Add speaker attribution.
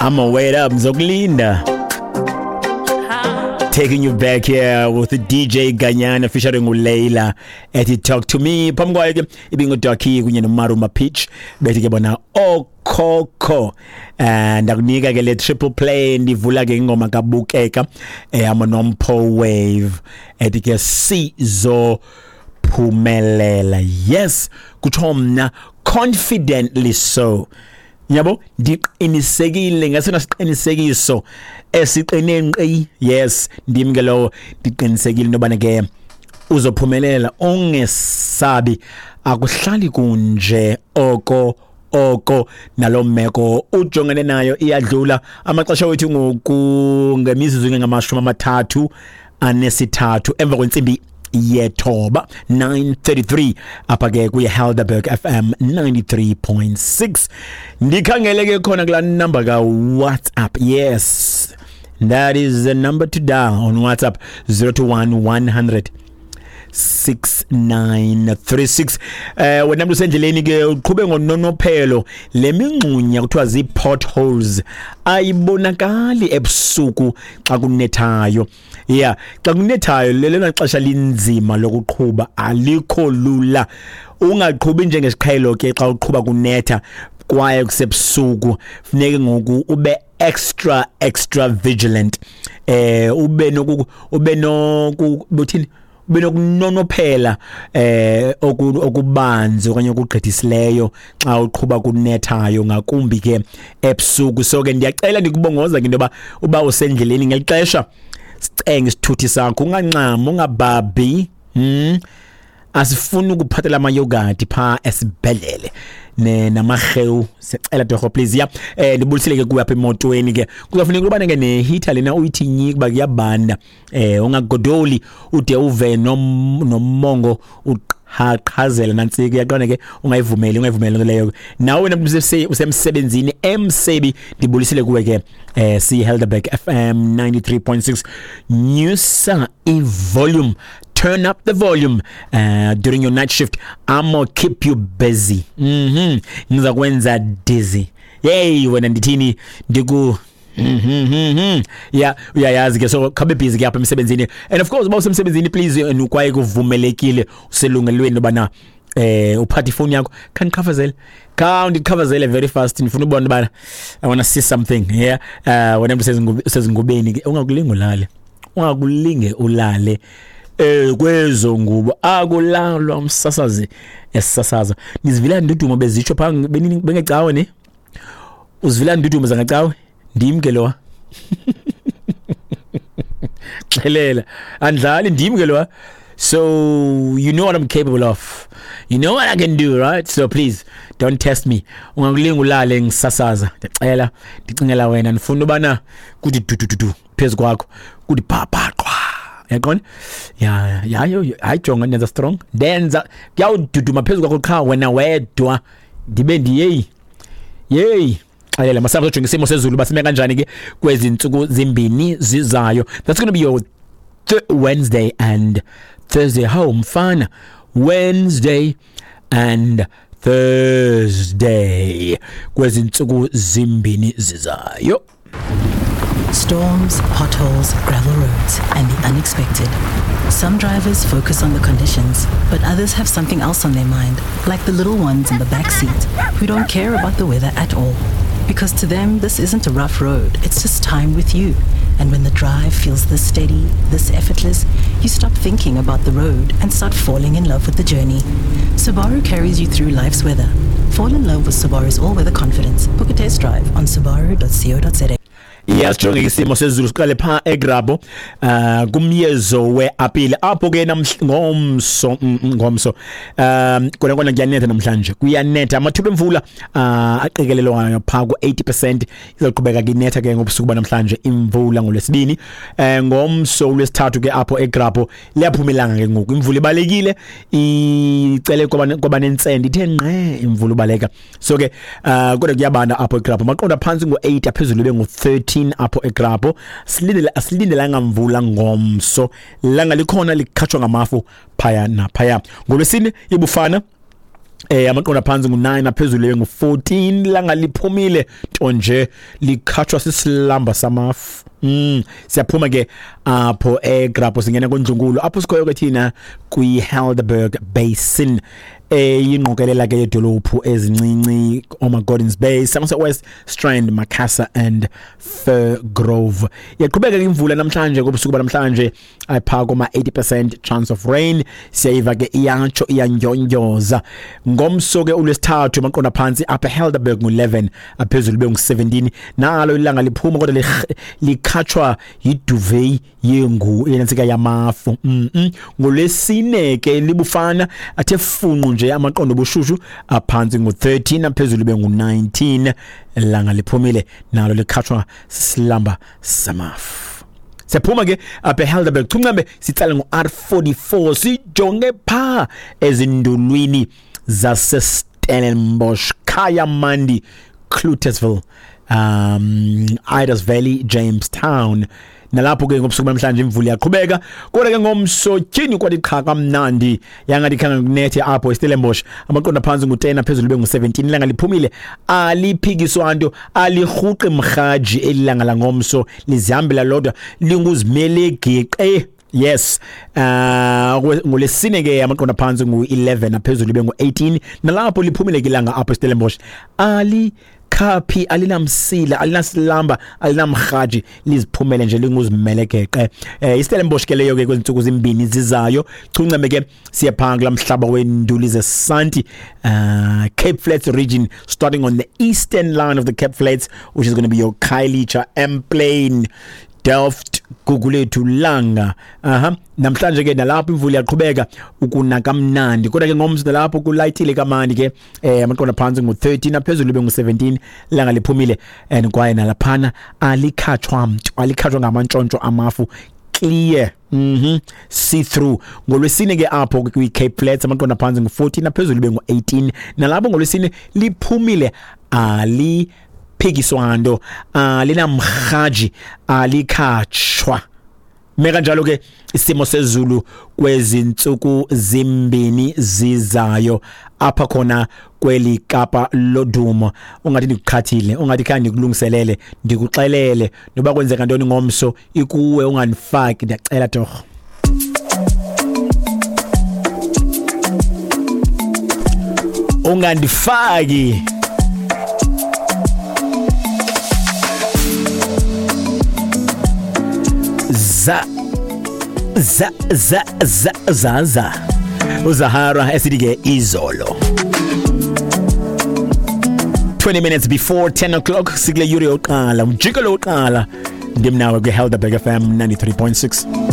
Speaker 1: I'ma wait up, ngizokulinda. Taking you back here with the DJ Ganyana featuring uLeila ethi "Talk to Me". Phambi kwayo ke ibinguDucky kunye noMaruma Peach, bethi ke bona "Okhokho". And akunika ke le triple play, ndivula ke ingoma kaBukeka ehamba noMpho Wave ethi ke "Sizo phumelela". Yes, kutsho mna confidently. So yabo, ndiqinisekile ngesona siqinisekiso esiqine nkqi. Yes, ndim ke lowo, ndiqinisekile into yobana ke uzophumelela. Ungesabi, akuhlali kunje oko oko, nalo meko ujongene nayo iyadlula. Amaxesha wethu ngoku ngemizuzu 33 emva kwentsimbi yethoba, 9:33, apha ke kuye Helderberg FM 93.6. Ndikhangele ke khona kulaa number ka WhatsApp. Yes, that is the number to dial on WhatsApp, 021 100 6936. Wena mntu usendleleni ke, uqhube ngononophelo. Le mingxunya kuthiwa zii-potholes ayibonakali ebusuku xa kunethayo. Yeah, xa kunethayo lelona xesha linzima lokuqhuba, alikho lula. Ungaqhubi njengesiqhelo ke xa uqhuba kunetha kwaye kusebusuku. Funeke ngoku ube extra extra vigilant, ube noku buthini, ube nokunonophela okubanzi okanye okugqithisileyo xa uqhuba kunethayo, ngakumbi ke ebusuku. So ke ndiyacela, ndikubongoza ke into yoba uba usendleleni ngeli xesha, sicenge isithuthi sakho, unganxami, ungabhabhi. Asifuni ukuphathela amayogati phaa esibhedlele ne namarhewu. Siyacela torho, please. Ya, ndibulisile ke kuwe apha emotweni ke. Kuzafuneka ubane ke ne-heater lena uyithi nyi kuba kuyabanda. Ungagodoli ude uve nomongo uqhaqhazela nantsika, uyaqonda ke. Ungayivumeli, ungayivumeli loo nto leyo. Nawe wena mntu usemsebenzini emsebi, ndibulisile kuwe ke. Si Helderberg FM 93.6. Nyusa i-volume, turn up the volume during your night shift. I'm gonna keep you busy. Ngiza kwenza dizzy. Yey wena, ndithini, ndiku yeah, uyayazi ke. So khabe busy ke apha emsebenzini. And of course uba usemsebenzini, please, kwaye kuvumelekile, uselungelweni ubana uphathe ifoni yakho. Khanichafazele, khawundichafazele very fast, ndifuna ubona ubana I want to see something. Yeah, wena mntu usezingubeni ke, ungakulinge ulale, ungakulinge ulale kwezo ngubo. Akulalwa umsasazi esisasaza. Nizivila ndudumo bezitsho phaa bengecawe ne uzivila ndudumo zangecawe. Ndim ke lowa, xelela, andlali, ndim ke lowa. So you know what I'm capable of, you know what I can do, right? So please don't test me. Ungakulinga ulale ngisasaza, ndicela, ndicingela wena. Ndifuna ubana kuthi dudududu phezu kwakho, kuthi bhabhaqwa, yaqona. Ya, yo, hayi, jonga, ndenza strong, ndenza kuyawududuma phezu kwakho qha wena wedwa, ndibe ndiyeyi yeyi. Xelela masambe sojonga isimo sezulu basime kanjani ke kwezi ntsuku zimbini zizayo. That's going to be your Wednesday and Thursday. How mfana, Wednesday and Thursday kwezi ntsuku zimbini zizayo.
Speaker 2: Storms, potholes, gravel roads, and the unexpected. Some drivers focus on the conditions, but others have something else on their mind, like the little ones in the back seat who don't care about the weather at all. Because to them, this isn't a rough road, it's just time with you. And when the drive feels this steady, this effortless, you stop thinking about the road and start falling in love with the journey. Subaru carries you through life's weather. Fall in love with Subaru's all weather confidence. Book a test drive on subaru.co.za.
Speaker 1: Iyasijonge isimo sezulu, siqale pha eGrabho kumyezo weapile apho ke ngomso, ngomso kona kona kuyanetha namhlanje, kuyanetha. Amathuba emvula aqikelelwayo pha ku-80%. Izaqhubeka ke inetha ke ngobusuku banamhlanje imvula ngolwesibini. Ngomso ulwesithathu ke apho eGrabho liyaphuma ilanga ke ngoku, imvula ibalekile, icele kwaba nentsende, ithe nqe imvula ubaleka. So ke kodwa kuyabanda apho eGrabho, maqonda phantsi ngo-8, aphezulu ibe ngu-13 apho eGrabho. Silindele, asilindelanga mvula ngomso, langa likhona likhatshwa ngamafu phaya naphaya. Ngolwesine ibufana Amaqondo aphantsi ngu-9, aphezulu ngu-14. Langa liphumile, nto nje likhatshwa sisilamba samafu. Siyaphuma ke apho eGrabho, singena kondlunkulu apho sikhoyo ke thina kwi-Helderberg Basin, eyingqokelela ke yedolophu ezincinci, oma-Gordons Bay, Somerset West, Strand, Macassar and Firgrove. Iyaqhubeka ke imvula namhlanje, kobusuku banamhlanje ayiphaa koma 80% chance of rain. Siyayiva ke iyatsho iyandyondyoza. Ngomso ke ulwesithathu, amaqondo aphantsi apha eHelderberg ngu-11, aphezulu bengu-17. Nalo ilanga liphuma, kodwa likhatshwa yiduvet yengu yenantsika yamafu. Ngolwesine ke libufana athe funqu nje, amaqondo obushushu aphantsi ngu-13, aphezulu bengu-19. Langa liphumile, nalo likhatshwa silamba samafu. Siyaphuma ke apha eHelderberg, chuncambe sitsale ngo-R44, sijonge phaa ezindulwini zaseStellenbosch, Kayamandi, Cloetesville, Idas Valley, Jamestown. Nalapho ke ngobusuku namhlanje imvula iyaqhubeka, kodwa ke ngomso tyhini kwathi qha kamnandi, yangathi khange kunethe apho eStellenbosch. Amaqondo aphantsi ngu-10, aphezulu bengu-17. Ilanga liphumile, aliphikiswa nto, alirhuqi mrhaji eli langa langomso, lizihambela lodwa, linguzimele geqe. Yes, ngolesine ke amaqondo aphantsi ngu-11, aphezulu bengu-18. Nalapho liphumile ke ilanga apho eStellenbosch, ali khaphi, alinamsila, alinasilamba, alinamrhaji, liziphumele nje linguzimele geqe. IStellenbosch ke leyo ke kwezi zimbini zizayo. Chuncame ke siyaphaa kulaa mhlaba wenduli zesanti, Cape Flats region, starting on the eastern line of the Cape Flats, which is going to be your Khayelitsha, Emplane, Delft, Gugulethu, Langa. Aha, namhlanje ke nalapho imvula iyaqhubeka ukuna kamnandi, kodwa ke ngomso nalapho kulayithile kamandi ke. Amaqondo aphantsi ngu-13, aphezulu bengu-17. Langa liphumile and kwaye nalaphana alikhatshwa mntu, alikhatshwa ngamantshontsho amafu, clear, see through. Ngolwesine ke apho kwi-Cape Flats, amaqondo aphantsi ngu-14, aphezulu bengu-18. Nalapho ngolwesine liphumile, ali phikiswa nto, alinamrhaji, alikhatshwa. Meka njalo ke isimo sezulu kwezi ntsuku zimbini zizayo apha khona kweli Kapa lodumo. Ungathi ndikuqhathile, ungathi khange ndikulungiselele, ndikuxelele noba kwenzeka ntoni ngomso ikuwe, ungandifaki, ndiyacela torho. Ungandifaki. Za za za za za za uZahara esithi ke izolo. 20 minutes before 10 o'clock, sikule yure yokuqala, umjikelo wokuqala, ndim nawe kwi-Helderberg FM 93.6.